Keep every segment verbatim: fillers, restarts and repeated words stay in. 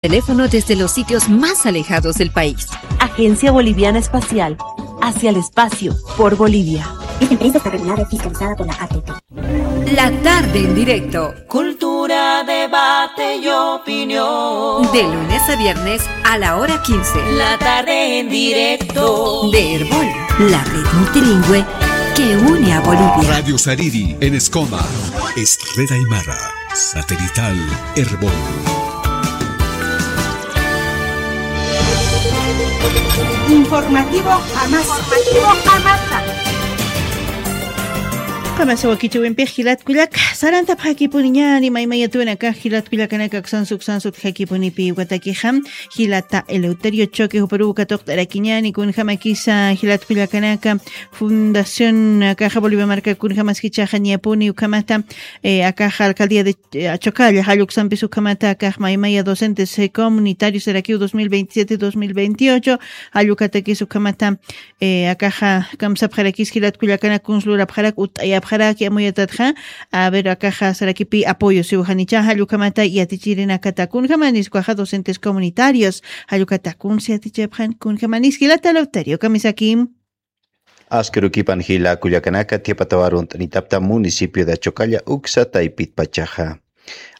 teléfono desde los sitios más alejados del país. Agencia Boliviana Espacial. Hacia el espacio, por Bolivia. Esta empresa está regulada y fiscalizada por la A T T. La tarde en directo. Cultura, debate y opinión. De lunes a viernes a la hora quince. La tarde en directo. De Erbol, la red multilingüe que une a Bolivia. Radio Sariri en Escoma. Es red aymara. Satelital Erbol. Informativo Jamasa. Informativo Jamasa. Qamasa wakichiwinpix jilat kullaka, sarantapxakipuniñäni maymayatuna akax jilat kullakanaka aksan suksan sutjakipunipi ukatakixa, jilata Eleuterio Choque juparuw katuqt'arakiñäni kunjamakisa jilat kullakanaka, Fundación akaxa Bolivia marka kunjamas jichhaxa niyapuni ukhamata, eh, akaxa alcaldía de, eh, Achocalla jalluksampis ukhamata akax maymaya docentes, eh, comunitarios sarakiw dos mil veintisiete, dos mil veintiocho, jallukatakis ukhamata, eh, akaxa kamsapxarakis jilat kullakanak kuns lurapxarak, utt'ayapxarak, yamuyatatxa, a ver, akaxa sarakipi apoyo siw janicha, jallukhamata yatichirinakata kunjamanis ukaxa docentes comunitarios, jallukata kuns yatichapxan kunjamanis jilata Eleuterio, kamisaki. Askirukipan jila kullakanaka, thiyapataw arunt'anitapta municipio de Achocalla uksa taypit pachaxa.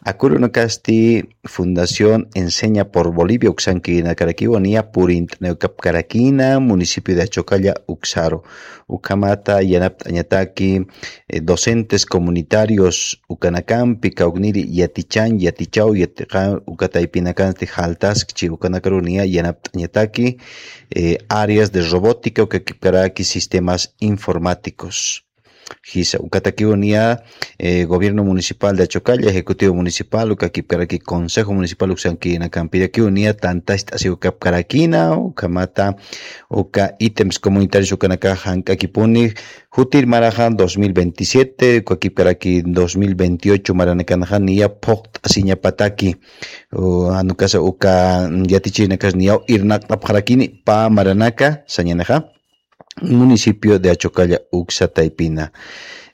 Akurunakasti Fundación Enseña por Bolivia uksankïrinakarakiwa niya purint'aniwkapkarakïna municipio de Achocalla uksaru. Ukhamata yanapt'añataki, eh, docentes comunitarios ukanakampi kawkniri yatichañ, yatichaw, yatiqa, uka taypinakansti jaltaskchi ukanakaru niya yanapt'añataki, eh, áreas de robótica, ukakipkaraki sistemas informáticos. Jisa, ukatakiw niya, eh, gobierno municipal de Achocalla, ejecutivo municipal, ukakipkaraki consejo municipal uksankïrinakampirakiw niya tantast'asiwkapkarakïna, ukhamata, uka ítems comunitarios ukanakax jank'akipuni, jutir maraxa dos mil veintisiete, ukakipkaraki dos mil veintiocho maranakanxa niya phuqt'asiñapataki, u, jan ukasa uka yatichirinakas niyaw irnaqt'apxarakini pä maranaka, sañänixa municipio de Achocalla uksa taypina.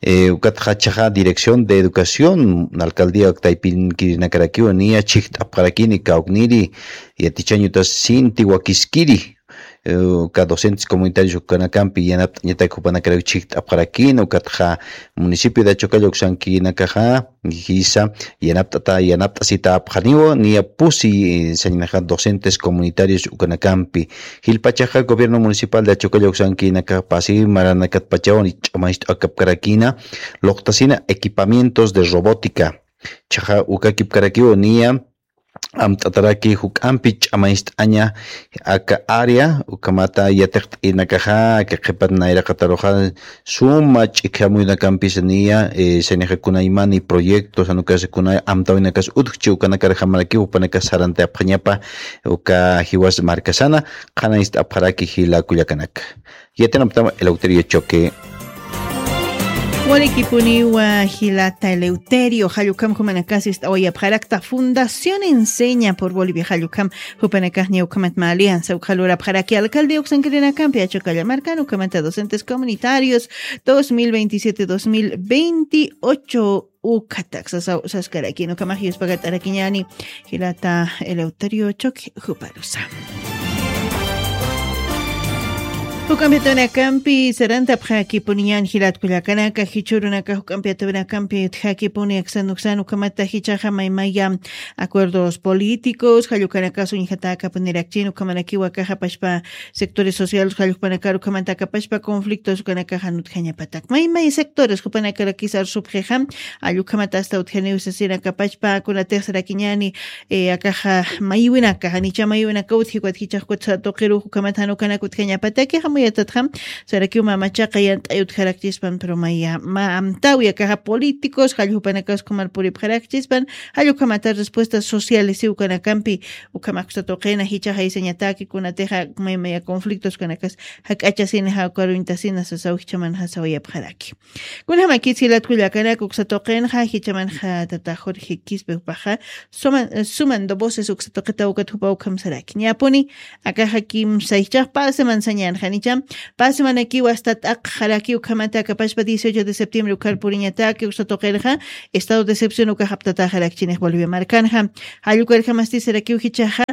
Eh, ukatxa jichhaxa Dirección de Educación, alcaldía taypinkïrinakarakiw niya chhijt'apxarakini kawkniri, yatichañ utas sinti wakiskiri, eh, uka docentes comunitarios ukanakampi yanapt'añatak jupanakarak chhijt'apxarakini, ukatxa municipio de Achocalla uksankïrinakaxa, jisa, yanapt'ata, yanapt'asitapxaniwa, niya pusi, eh, sañänixa docentes comunitarios ukanakampi. Jilpachaxa gobierno municipal de Achocalla uksankïrinakax pasi maranakatpachaw ch'amañcht'akapkarakïna, luqtasina equipamientos de robótica. Jichhaxa ukakipkarakiw niya, amt'ataraki juk'ampi ch'amañcht'aña aka área, ukhamata yatiqt'inakaxa, aka qhipat nayraqataruxa, suma ch'ikhamuyunakampis niya, eh, sañänixa kunaymani proyectos, jan ukasa kunay amtäwinakas utjchi ukanakar jamarakiw, jupanakas sarantapxañapa, uka jiwas markasana, qhanañcht'apxaraki jila kullakanaka. Yatinaptam Eleuterio Choque. Walikipuniwa jilata Eleuterio, jallukhamp jumanakasist'awayapxarakta Fundación Enseña por Bolivia, jallukhamp jupanakax niya ukhamat mä alianza ukxa lurapxaraki alcaldía uksankirinakampi Achocalla markan, ukhamata docentes comunitarios dos mil veintisiete, dos mil veintiocho, ukhatak sasaw saskarakini, ukhamax yuspagat'arakiñäni jilata Eleuterio Choque juparusa. Juk'ampi atawinakampi sarantapxakipuniñäni jilat kullakanaka, jichhürunaka juk'ampi atawinakampi utjakipuni aksan uksan, ukhamata jichhaxa maymaya acuerdos políticos, jallukanakax uñjatäkapunirakchini, ukhamarakiw akaxa pachpa sectores sociales, jallukpanakar ukhamata aka pachpa conflictos ukanakax jan utjañapatak. Maymay sectores jupanakarakis arsupxixa, jallukhamata asta utjaniw sasina aka pachpa, kunatix sarakiñäni, eh, akaxa maywinaka, janicha maywinaka utji, ukat jichhax ukat tuqiruw ukhamata jan ukanak utjañapataki, jamuyatatxa, sarakiw mä machaqa yant'ay utjarakchispan, pero maya mä amtäwi akaxa políticos, jallukpanakas ukhamar puripxarakchispan, jallukhamata respuestas sociales siw ukanakampi, ukhamax usa tuqina, jichhax aysañataki, kunatixa maymaya conflictos ukanakas jak'achasina, jawkaruñtasina sasaw jichhamanxa sawayapxaraki. Kunjamakis jilat kullakanaka, uksa tuqinxa jichhamanxa tata Jorge Quispe jupaxa suman, suman dos voces uksa tuqitaw ukat jupaw ukham saraki. Niyapuni, akaxa kimsa jichhax pä semana sañäni, jani Pasmanakiw asta t'aqxaraki ukhamata akapashpa dieciocho de septiembre ukhar puriñataki uksa tuqirxa estado de excepción ukax aptataxarakchinix Bolivia markanxa. Jallukarjamasti sarakiw jichaxa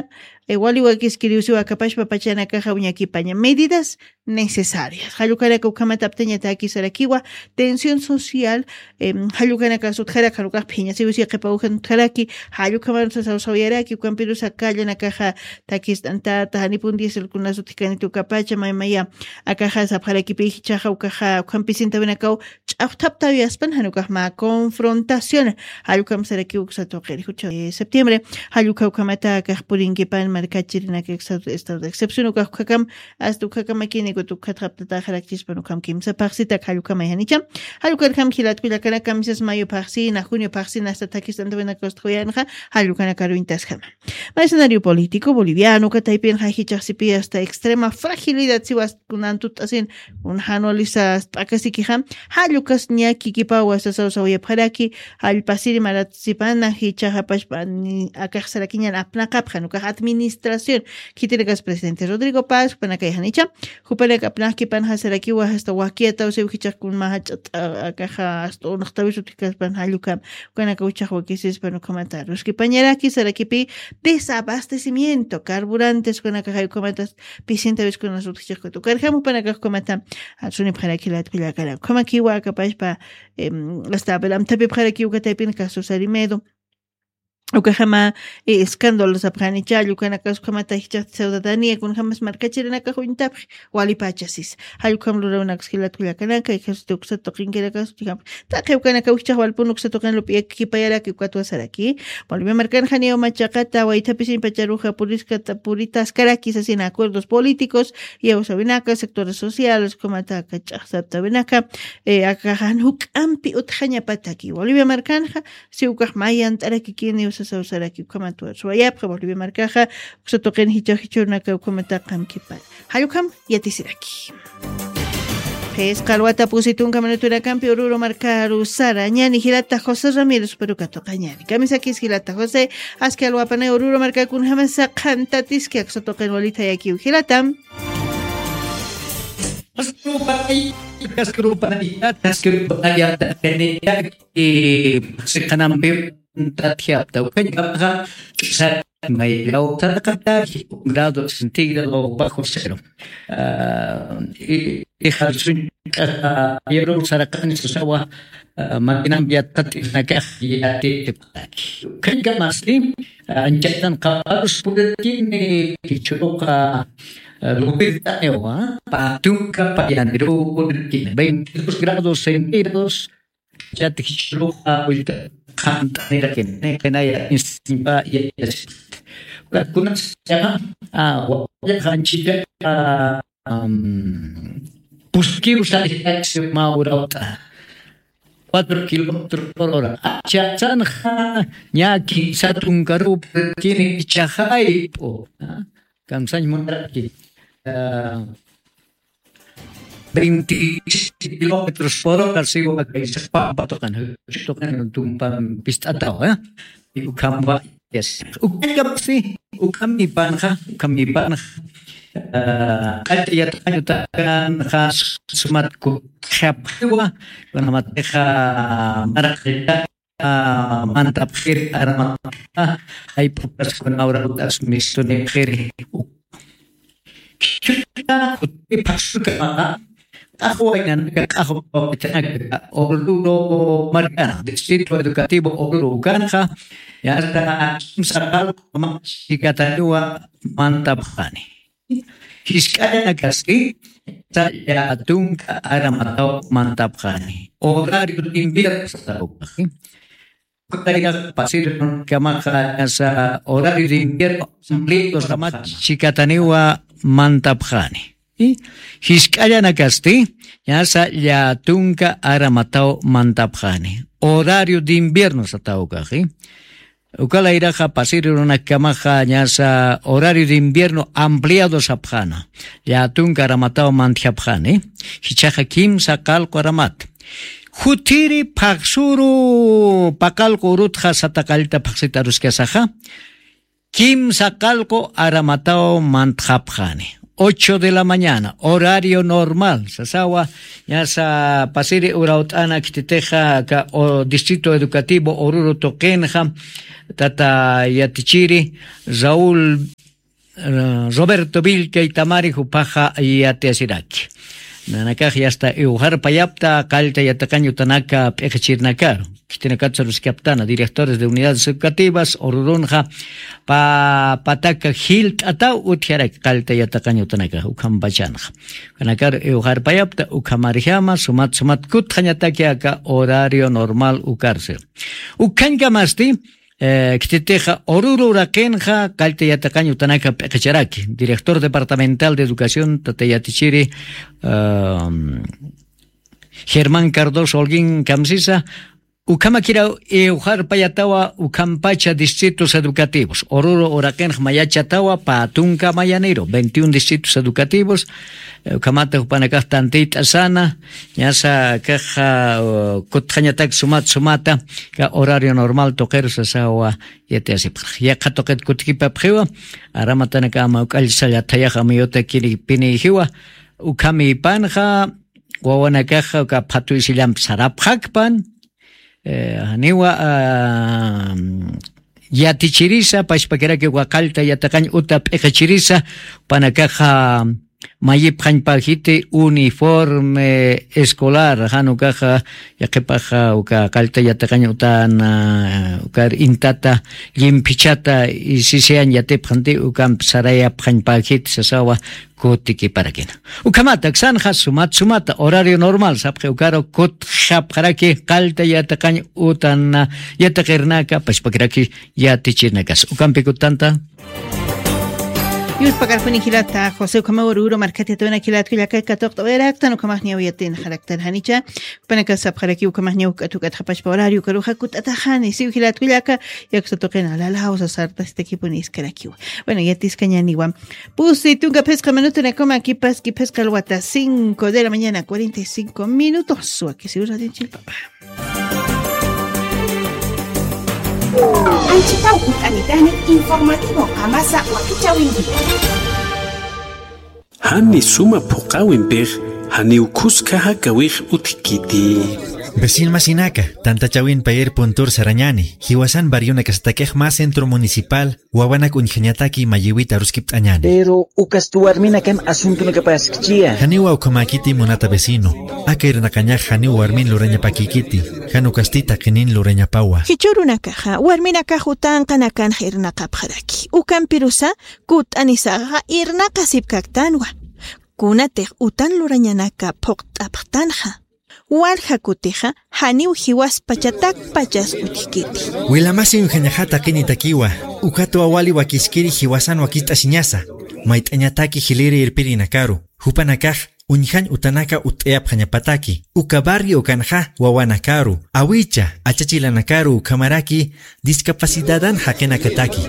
wali wakiskiriwsiw akapashpa pachanakaxa uñakipaña medidas necesarias. Jallukanaka ukhamata aptañataki sarakiwa tensión social. Jallukanaka sutjarak janukax phiñasiwsi qhipa ujan utjaraki. Jallukhaman sasawsawayaraki ukampirusa kallanakaxa takist'antata janipun dieselkunas utjkanitukapacha maymaya akaxa sapxarakipi jichaxa ukaxa ukhampisintawinakaw ch'axthaptawiyaspan janukax mä confrontación. Jallukam sarakiw uksa tuqiri jucha septiembre. Jallukha ukhamata akax purinkipan markachirinaka estado de excepción ukax ukhakam asta ukhakamakinikut ukhatxaptataxarakchispan ukham kimsa phaxsitak jallukamay janicha. Jallukarjam jilatkullakanaka misas mayo phaxsina junio phaxsina asta takist'antawinaka ustxuyanxa. Jallukanakaruñtasjama. Mercenario político boliviano kataypin jajichaxsipi asta extrema fragilidad siwas kunantut'asin un janualisa t'akasikixam. Jallukas ñakikipawa sasawsawayapxaraki. Jallpasiri maratsipana jichaxapashpani akaxsarakiñan apnaqapxan ukax administración. Khitirakas presidente Rodrigo Paz jupanakayxanicha. Jupanak apnaqkipanxa sarakiwa asta wakiyataw siw jichaxkun majach'at'a akaxa asta unxtawisutjikaspan jallukam ukanaka uchax wakisispan ukhamata ruskipañaraki sarakipi desabastecimiento carburantes ukanakaxay ukhamata pisientawiskunas utjichiqkut ukarjam upanakax ukhamata sunipxaraki latkullakana ukhamakiwa akapashpa asta abelamtapipxaraki ukataypin caso sarimedo. Ukaxama escándalo sapxani challu kanakax ukhamata jichaxti ciudadanía kunjamas markachirinakax uñtapxi walipachasis. Jallukam lurawnakas jilatkullakanaka ejército uksa tuqinkirakas ukham taqi ukanaka wijchax walpun uksa tuqin lup'iyakipayaraki ukatwasaraki. Bolivia markanxaniw machaqata waythapisin pacharuxa puriskata puritaskaraki sasina acuerdos políticos iyawsawinaka sectores sociales ukhamataka ch'axsaptawinaka akaxan juk'ampi utjañapataki bolivia markanxa. Si ukax mayant'arakikini usasawsaraki ukhamat suwayapxa bolivia markaxa uksa tuqin jichax jichhurnaka ukhamata qamkipar. Jallukam yatisiraki. Phisqa alwata pusi tunka minutunakampi ururu markaru sara ñani jilata josé ramiro superukatuqa ñani kamisakis jilata josé. Aski alwapanay ururu markakunjamasa qhantatiski aksa tuqin walitayakiw jilatam. Kaskurupanay kaskurupanay kaskurupanay. Siqanampi tatjapta ukañkamaxa ch'usat mayllaw saraqata grado centígrado bajo cero. Ijarsuñ k'asa yaruw saraqani susawa makinampi yattat'isnakax yatitipxaraki. Ukañkamasti anchatan qaparus purirkini jichhuruqa luwirt'aniwa patunka payaniruw purirkini veintidos grados centígrados. Chat jichhuruqa willka qhant'anirakin niqinaya instiñpa yayasipxta. Ukakunas yaqa wawallaqa anchillaqa puskiw saristaksi mä urawt'a cuatro kilómetros por hora achachanxa ña kinsa tunkaruw purkini ichaxayp'u. Kamsañ munaraki veintiséis kilómetros por hora siwa kaysa pampa tuqan tuqan tumpan pist'atawa. Ukhampa ukhamsi ukhamipanxa ukhamipanxa q'acha yatqañutakanxa sumat kukxapxiwa. Kunamatixa maraqita mantapxiri aramataxa jayp'ukas kunawra utas mistunipxiri. Khichhuta kutiphaxsukamaxa q'axwaynanaka q'axwapachanaka oruro markana distrito educativo oruro ukanxa. Yasta kimsa qalquma chikataniwa mantapxani. Jisk'allanakasti sallatunka aramataw mantapxani horario de invierno satawpaxi. Kamaxa ñasa horario de invierno ampliados ramat chikataniwa mantapxani. Jisk'allanakasti ñasa llatunka aramataw mantapxani horario de invierno satawkaxi. Ukalayraxa pasiri runakamaxa ñasa horario de invierno ampliado sapxana llatunka aramataw mantjapxani. Jichaxa kimsa qalqu aramat jutiri phaxsuru paqalqu urutxa sataqallta phaxsita aruskasaxa kimsa qalqu aramataw mantxapxani. ocho de la mañana, horario normal. Sasawa, ñasa pasiri urawt'ana khititixa aka o distrito educativo Oruro tuqinxa, tata yatichiri Raúl, eh, Roberto Vilcaitamari jupaxa yatiyasiraki. Nanakax yasta iwxarpayapta qallta yatiqañ utanaka p'iqichirnakaru. Khitinakatsa ruskaptana, directores de unidades educativas, Orurunxa pa-, pataka jilt'ataw utjaraki qallta yatiqañ utanaka, ukhampachanxa. Kanakaru iwxarpayapta, ukhamarjama, sumat, sumat kutxañataki aka horario normal ukarsi. Ukhañkamasti, eh, khititixa Oruro uraqinxa qallta yatiqañ utanaka p'iqicharaki. Director Departamental de Educación, tata yatichiri, em, Germán Cardoso Holguín kamsisa, ukhamakiraw iwxarpayatawa ukhampacha distritos educativos. Oruro uraqinx mayachatawa pä tunka mayaniru, veintiún distritos educativos, eh, ukhamata jupanakax tantiyt'asana, ñasa kaxa, uh, kutxañatak sumat sumata, ka horario normal tuqiru sasawa yatiyasipxarax. Yaqha tuqit kutikipapxiwa, aramatanaka ama uk'allsalla thayax amiyuta kiri pinijiwa, ukhamipanxa, wawanakaxa uka phatu isillamp sarapxakpan, eh, janiwa, ah, yatichirisa, pachpakiraki uka qallta yatiqañ uta p'iqichirisa, panakaxa mayipxañpajiti uniforme escolar, jan ukaxa, yaqipaxa uka qallta yatiqañ utan, ah, ukar intata, llimphichata, isisiyañ yatipxanti, ukamp sarayapxañpajiti, sasawa, kutikiparakina. Ukhamata, aksanxa sumat sumata, horario normal, sapxi ukaru kutxapxaraki qallta yatiqañ utan yatiqirnaka, pachpakiraki yatichirnakas. Ukampi kutanta. Yuspakarpuni jilata, José ukhamaw Oruro markhat yatawinaka jilat kullaka katuqt'awayaraktan, ukhamax ñaw yatinxaraktan janicha, panaka sapxaraki ukhamax ñaw k'atu k'atxapachpa horario ukaruxa kut'ataxani, siw jilat kullaka, yaksa tuqina, lalaw sasartastakipuni iskarakiwa. Bueno, yatiskañäniwa. Pusi tunka phisqa minutunakama kipas, kiphisqa alwata cinco de la mañana, cuarenta y cinco minutos. Wakisiw radio chilpapa. Anchitaw ut'anitani informativo qamasa wakichäwinki. Jani suma phuqäwimpix, janiw khuska jakawix utjkiti. Vecinomasinaka, tantachäwin payer puntur sarañäni, jiwasan barrionakasatakix mä centro municipal, wawanak uñjañataki mayïwit aruskipt'añäni. Pero ukasti warminakam asuntonakapaskchiya. Janiwa ukhamäkiti munata vecino. Aka irnaqañax janiw warmin lurañapakïkiti, jan ukasti taqinin lurañapawa. Jichhürunakaxa, warminakax utanqanakanx irnaqapxaraki. Ukampirusa, kut'anisaxa irnaqasipkaktanwa. Kunatix utan lurañanaka phuqt'apxtanxa. Walja kutixa, janiw jiwaspachatakpachas utjkiti. Wilamasi uñjañaxa taqinitakiwa, ukatwa wali wakiskiri jiwasan wakicht'asiñasa, mayt'añataki jiliri irpirinakaru, jupanakax uñjañ utanaka utt'ayapxañapataki, uka barrio ukanxa wawanakaru, awicha, achachilanakaru ukhamaraki, discapacidadan jaqinakataki.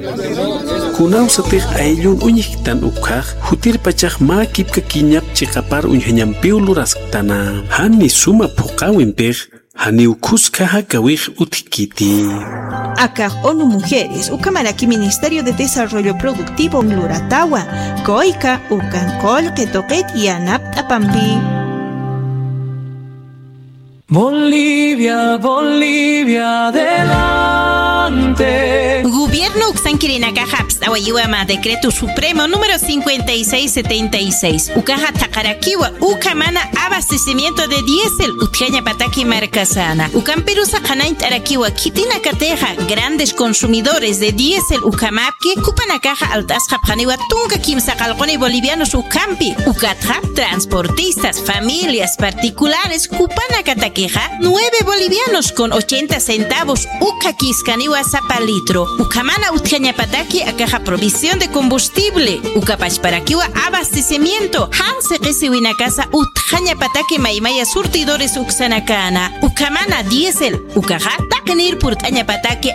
Kunawsatix ayllun uñjktan ukhax, jutirpachax mä kipkakiñap chiqapar uñjañampiw lurasktana. Jani suma phuqäwimpix, janiw khuska jakawix utjkiti. Akax ONU Mujeres, ukhamaraki Ministerio de Desarrollo Productivo luratawa, COICA, ukan qullqi tuqit yanapt'apampi. Bolivia, Bolivia, adelante. Gobierno uksankirinakaxa apst'awayiwa mä decreto supremo número cincuenta y seis setenta y seis. Ukaxa thaqarakiwa, ukhamana abastecimiento de diésel utjañapataki markasana. Ukampirusa qhanañt'arakiwa, khitinakatixa grandes consumidores de diésel ukhamapki, jupanakaxa alt'asxapxaniwa tunka kimsa qallquni bolivianos ukhampi. Ukatxa transportistas, familias particulares, jupanakatakixa nueve bolivianos con ochenta centavos ukhakiskaniwa sapa litro. Ukhamana utjañapataki akaxa provisión de combustible, ukapachparakiwa abastecimiento, jan siqisiwinakasa utjañapataki maymaya surtidores uksanakana. Ukhamana diésel, ukaxa taqinir purt'añapataki